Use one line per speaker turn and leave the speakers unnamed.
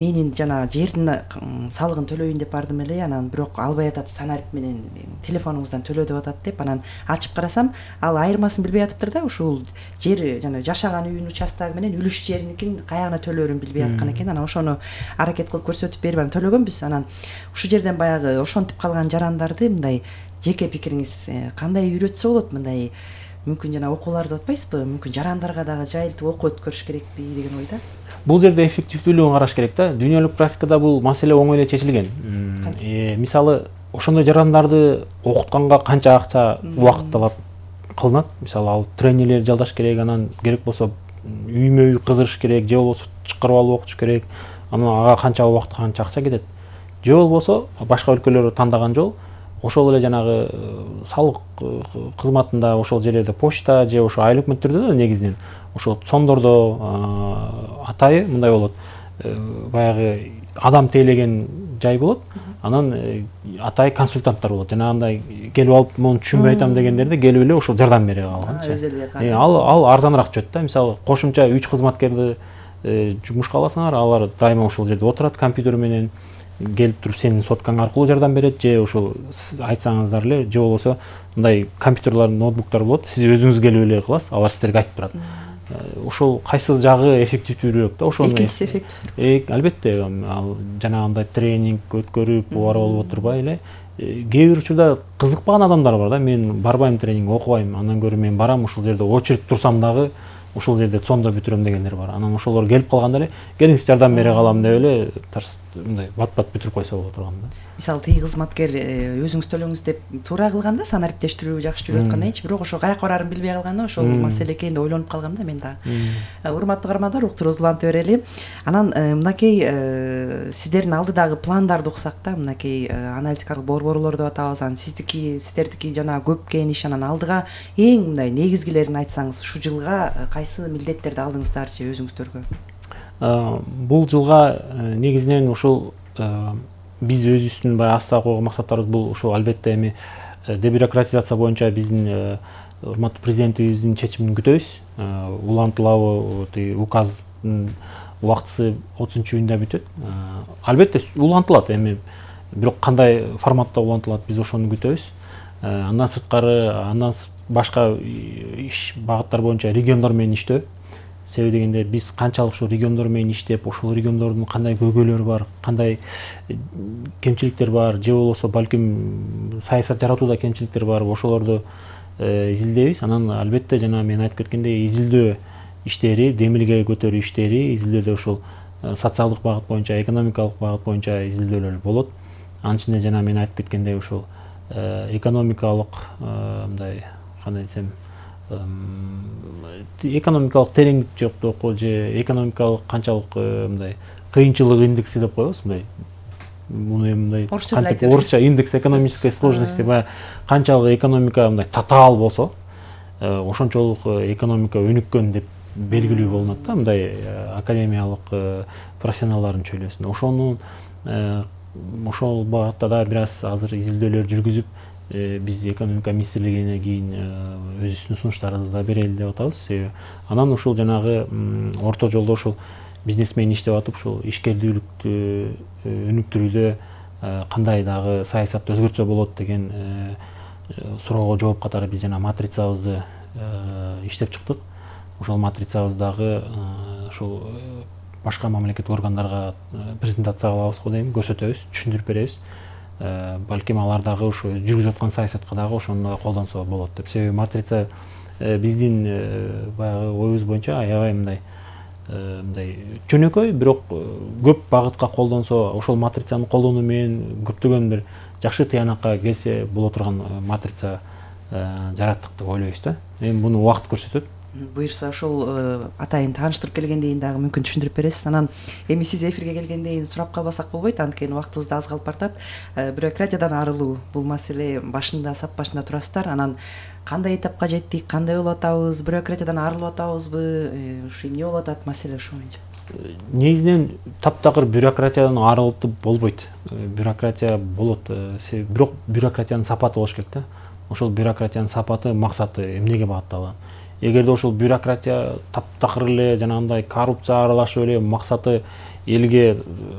Менин жана жердин салыгын төлөйүн деп бардым эле, анан бирок албай атат, станарит менен телефонуңуздан төлөө деп атат деп, анан ачып карасам, ал айырмасын билбей атыптыр да, ушул жер жана жашаган үйүнүн участогу менен үлүш жериникин каягына төлөөрүн билбей аткан экен. Анан ошону аракет кылып көрсөтүп берип анан төлөгөнбүз. Анан ушул жерден баягы ошентип калган жарандарды мындай жеке пикириңиз кандай үйрөтсө болот? Мындай мүмкүн жана окууларды атпайсызбы? Мүмкүн жарандарга дагы жайылтып окуу өткөрүш керекпи деген ойда.
Бул жерде эффективдүүлүгүн караш керек да. Дүйнөлүк практикада бул маселе оңой эле чечилген. Мисалы, ошондой жарандарды окутканга канча акча, убакыт талап кылынат? Мисалы, ал тренерлер жалдаш керек, анан керек болсо үймө үй кыдырыш керек, же болбосо чакырып алып окутуш керек. Анан ага канча убакыт, канча акча кетет. Же болбосо башка өлкөлөр тандаган жол ошол эле жанагы салык кызматында, ошол жерлерде почта же ошо айлык мөлчөрдө да негизинен ошол сондордо атайы мындай болот. Баягы адам тейлеген жай болот. Анан атайы консультанттар болот. Жанагындай келип алып, муну түшүнбөй айтам дегендерде келип эле ошол жардам бере калган. Ал арзаныраак жүрөт да. Мисалы, кошумча 3 кызматкерди жумушка аласыңар, алар дайыма ошол жерде отурат компьютер менен, келип туруп сенин соткаң аркылуу жардам берет, же ошол айтсаңыздар эле, же болбосо мындай компьютерлар, ноутбуктар болот, сиз өзүңүз келип эле кыласыз, алар сиздерге айтып турат. Ошол кайсы жагы эффективдүүрөөк да? Ошону
экинчиси эффективдүү.
Албетте, ал жанагындай тренинг өткөрүп, убарып алып отурбай эле кээ бир учурда кызыкпаган адамдар бар да. Мен барбайм тренинг, окубайм, андан көрө мен барам ушул жерде очередь турсам дагы ушул жерде цондо бүтүрөм дегендер бар. Анан ошолор келип калганда эле келиңиз жардам бере калам деп эле мындай бат-бат бүтүрүп койсо боло турган да.
Мисалы, тиги кызматкер өзүңүз төлөңүз деп туура кылганда, санариптештирүү жакшы жүрүп аткандайчы, бирок ошо каяка барарын билбей калганда ошол маселе экен деп ойлонуп калгам да мен дагы. Урматтуу каармандар, уктуруубузду уланта берели. Анан мынакей сиздердин алдыдагы пландарды уксак да, мынакей аналитикалык борборлор деп атабыз, анан сиздердики жана көп иш, анан алдыга эң мындай негизгилерин айтсаңыз, ушул жылга кайсы милдеттерди алдыңыздарчы өзүңүздөргө?
Бул жылга негизинен ушул биз өзүбүздүн баягы астыга койгон максаттарыбыз бул ушул албетте эми дебюрократизация боюнча биздин урматтуу президентибиздин чечимин күтөбүз. Улантылабы, указдын убактысы 30-июнда бүтөт. Албетте улантылат эми, бирок кандай форматта улантылат, биз ошону күтөбүз. Андан сырткары, башка иш багыттар боюнча региондор менен иштөө. Себеби дегенде биз канчалык ушул региондор менен иштеп, ошол региондордун кандай көйгөйлөрү бар, кандай кемчиликтер бар, же болбосо балким саясат жаратууда кемчиликтер бар, ошолорду изилдейбиз. Анан албетте жана мен айтып кеткендей, изилдөө иштери, демилге көтөрүү иштери, изилдөөдө ушул социалдык багыт боюнча, экономикалык багыт боюнча изилдөөлөр болот. Анын ичинде жана мен айтып кеткендей ушул экономикалык мындай кандай десем, экономикалык тереңдик же экономикалык канчалык мындай кыйынчылык индекси деп коебуз, мындай мындай орусча индекс экономической сложности, канчалык экономика мындай татаал болсо, ошончолук экономика өнүккөн деп белгилүү болунат да, мындай академиялык профессионалдардын чөйрөсүндө. Ошону ошол багытта да бир аз азыр изилдөөлөр жүргүзүп, биз экономика министрлигине кийин өзүбүздүн сунуштарыбызды берели деп атабыз. Анан ушул жанагы орто жолдо ушул бизнесмен иштеп атып, ушул ишкердүүлүктү өнүктүрүүдө кандай дагы саясатты өзгөртсө болот деген суроого жооп катары биз жана матрицабызды иштеп чыктык. Ошол матрицабыздагы ушул башка мамлекеттик органдарга презентация кылабыз го дейм, көрсөтөбүз, түшүндүрүп беребиз. Балким алар дагы ушу жүргүзүп аткан саясатка дагы ошону колдонсо болот деп. Себеби матрица биздин баягы оюбуз боюнча аябай мындай жөнөкөй, бирок көп багытка колдонсо, ошол матрицаны колдонуу менен көптөгөн бир жакшы тыянакка келсе боло турган матрица жараттык деп ойлойбуз да. Эми буну убакыт көрсөтөт.
Буюрса ошол атайын тааныштырып келгенден кийин дагы мүмкүн түшүндүрүп бересиз. Анан эми сиз эфирге келгенден кийин сурап калбасак болбойт, анткени убактыбыз да аз калып баратат. Бюрократиядан арылуу бул маселе башында, сап башында турасыздар. Анан кандай этапка жеттик, кандай болуп атабыз, бюрократиядан арылып атабызбы, ушу эмне болуп атат маселе ошо боюнча?
Негизинен таптакыр бюрократиядан арылтып болбойт. Бюрократия болот, бирок бюрократиянын сапаты болуш керек да. Ошол бюрократиянын сапаты, максаты эмнеге багытталган? Эгерде ошол бюрократия таптакыр эле жанагындай коррупция аралашып эле максаты элге